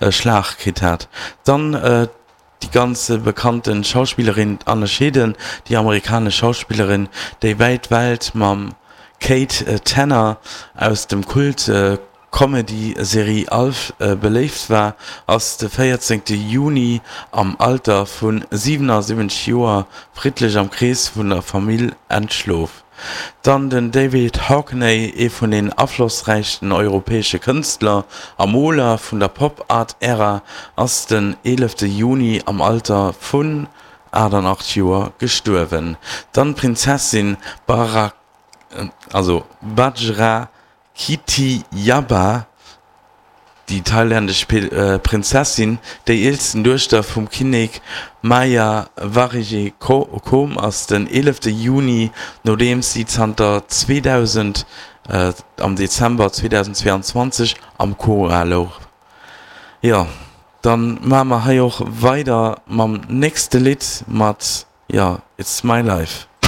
Schlag kritt hat. Dann déi ganz bekannte Schauspillerin Anne Schedeen, déi amerikanesch Schauspillerin, déi wäit Welt mam Kate Tanner aus dem Kult Comedy-Serie Alf beléift war, ass de 14 Juni am Alter vu 77 Joer friddlech am Krees vun der Famill entschlof. Dann den David Hockney, ee vun den aflossräichsten europäesche Kënstler a Moler vun der Pop-Art-Ära, ass den 11 Juni am Alter vun 88 Joer gestuerwen. Dann d'Prinzessin Bajra Kitiyaba, déi thailännesch Prinzessin, déi eelsten Duechter vum Kinnek Maha Vajiralongkorn, ass den 11 Juni, nodeems si zanter 2000 am Dezember 2022 am Koma louch. Jo, dann maache mer hei och weider mam nächste Lidd mat, jo, It's My Life.